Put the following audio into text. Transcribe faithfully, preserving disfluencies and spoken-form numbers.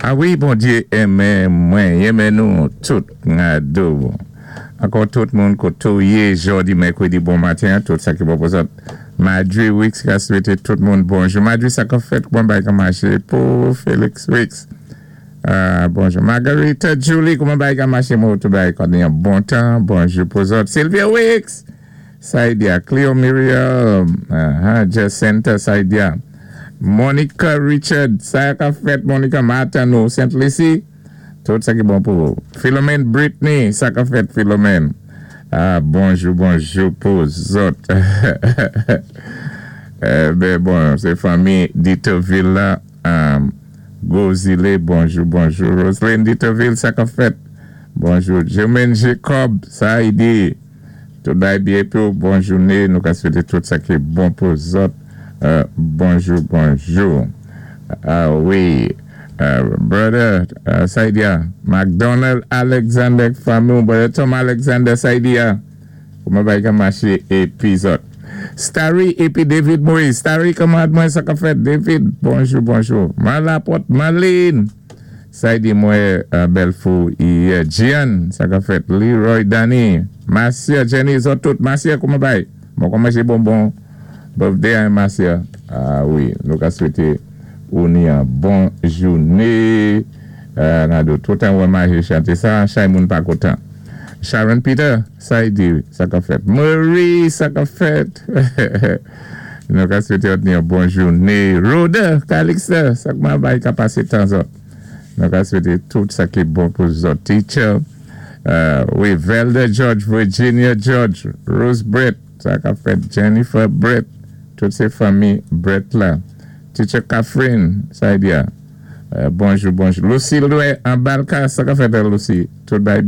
A wi, Bondyé enmen mwen, enmen nou tout ngado. Ankò tout moun koto yé jòdi mèkwédi bon maten, tout sa ki bon pou zòt. Madri Wicks ka swété tout moun bonjou. Madri sa ka fèt kouman bay ka maché pou Felix Wicks. Uh, bonjou. Margarita Julie, kouman bay ka maché mou tout bay konnen yon bon tan. Bonjou pou zòt. Sylvia Wicks. Saidia, Cleo Muriel, uh, Jacinta Saidia. Monica Richard, sa ka fèt Monica Martin nou, Saint Lucie. Tout sa ki bon pou. Philomène Britney, sa ka fèt Philomène. Ah, bonjou, bonjou pou zòt. eh, ben bon, sé fanmi Ditoville la. Um, Gozile, bonjou, bonjou. Roselyne Ditoville, sa ka fèt. Bonjou. Jermaine Jacob, sa y di. Tout bay byen pou bon jouné. Nou ka swété tout sa ki bon pou zòt. Euh, bonjou, bonjou. Ah wi. Uh, brother uh, Saidia, McDonald Alexander fanmi, brother Tom Alexander Saidia. Kouman bay ka maché épi zòt. Starry épi David Moïse. Starry, kouman mwen sa ka fèt? David, bonjou, bonjou. Malapot, Marlene. Saidi mwen uh, Belfou, uh, Gian, sa ka fèt. Leroy Danny, Marcia, Jenny, zòt tout. Marcia, kouman bay? Bon, kouman maché bonbon? Birthday a Marcia. Ah wi, nou ka swété ou ni yon bon jouné. Euh, ngado, tout an wè maché chanté sa, chay moun pa kontan. Sharon Peter, sa y di, sa ka fèt. Marie, sa ka fèt. Nou ka swété ou ni yon bon jouné. Rhoda, Calixte, sa kouman bay ka pasé tan zòt. Nou ka swété tout sa ki bon pou zòt. Teacher, uh, wi, Velda George, Virginia George, Rose Brett, sa ka fèt. Jennifer Brett, tout sé fanmi Brett la. Teacher Catherine, sa y di ya. Euh, bonjou, bonjou. Lucy Loué, an Balka, sa ka fèt Lucy. Tout bay byen.